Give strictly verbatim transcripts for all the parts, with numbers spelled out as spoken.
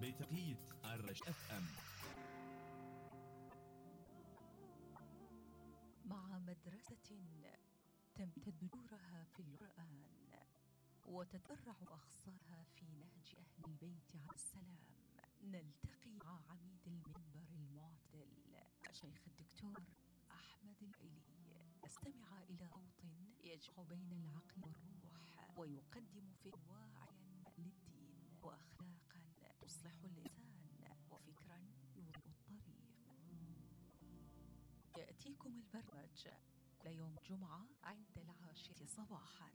بتوقيت الرش اف ام. مع مدرسة تمتد جورها في القرآن وتتفرع أخصارها في نهج أهل البيت عليه السلام، نلتقي مع عميد المنبر المعتدل الشيخ الدكتور أحمد العلي، استمع إلى صوت يجمع بين العقل والروح ويقدم فكرا واعيا للدين وأخلاقا تصلح الإنسان وفكرا يوضح الطريق. يأتيكم البرنامج كل يوم جمعة عند العاشرة صباحا.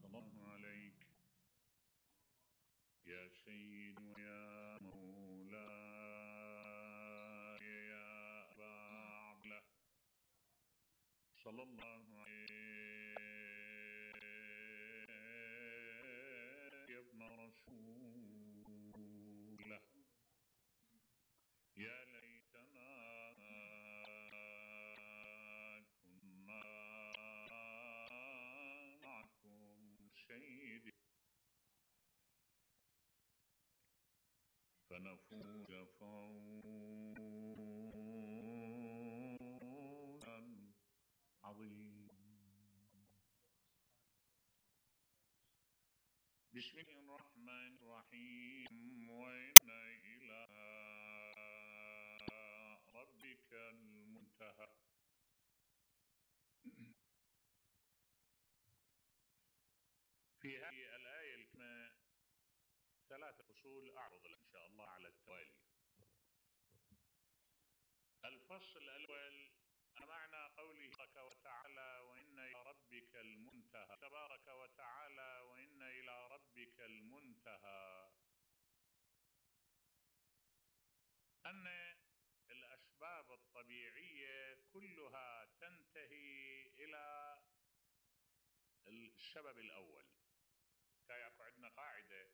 سلام عليك يا سيد ويا مولاي يا أبا عبد الله، صلى الله عليك يا ابن رسول الله. يا ليتنا كنا معكم سيدي فنفوز فوزا عظيما. بسم الله الرحمن الرحيم. وإن إلى ربك المنتهى. في هذه الآية الكريمة ثلاثة فصول أعرض إن شاء الله على التوالي. الفصل الأول معنى قوله تبارك وتعالى وإن إلى ربك المنتهى. تبارك وتعالى وإن إلى ربك المنتهى، أن الأسباب الطبيعية كلها تنتهي إلى السبب الأول. كاياكو عندنا قاعدة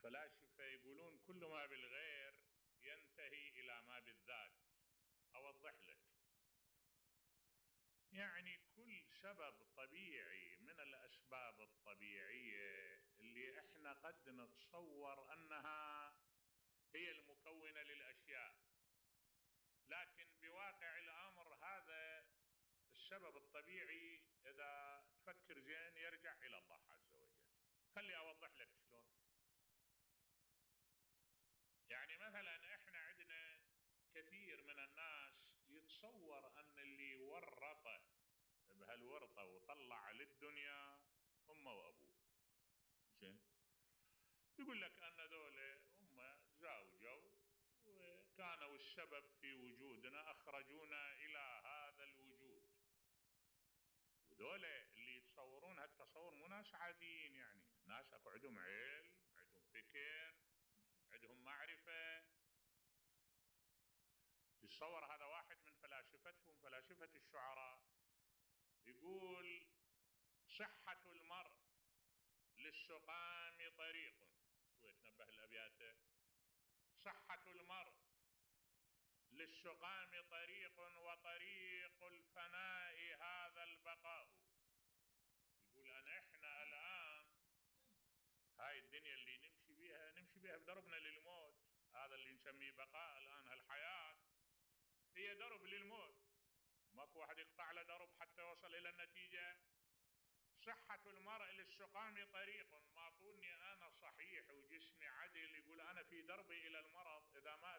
فلاسفة يقولون كل ما بالغير ينتهي إلى ما بالذات. أوضح لك، يعني كل سبب طبيعي من الأسباب الطبيعية اللي احنا قد نتصور أنها هي المكونة للأشياء، لكن بواقع الأمر هذا السبب الطبيعي إذا تفكر زين يرجع إلى الله عز وجل. خلي أوضح لك شلون. يعني مثلا احنا عندنا كثير من الناس يتصور أن اللي ورطه بهالورطة وطلع للدنيا أمه وأبوه. زين، يقول لك أن ذولا هم تزاوجوا وكانوا السبب في وجودنا، أخرجونا إلى هذا الوجود. وذولا اللي يتصورون هالتصور مو ناس عاديين، يعني ناس أكو عندهم علم، عندهم فكر، عندهم معرفة. يتصور هذا واحد من فلاسفتهم، فلاسفة الشعراء، يقول صحة المرء للسقام طريق. شو يتنبه الأبيات؟ صحة المرء للسقام طريق وطريق الفناء هذا البقاء. يقول أن إحنا الآن هاي الدنيا اللي نمشي بيها نمشي بيها بدربنا للموت. هذا اللي نسميه بقاء الآن، هالحياة هي درب للموت، ماكو واحد يقطع له درب حتى يوصل إلى النتيجة. صحة المرء للسقام طريق، ما طولني أنا صحيح وجسمي عدل، يقول أنا في دربي إلى المرض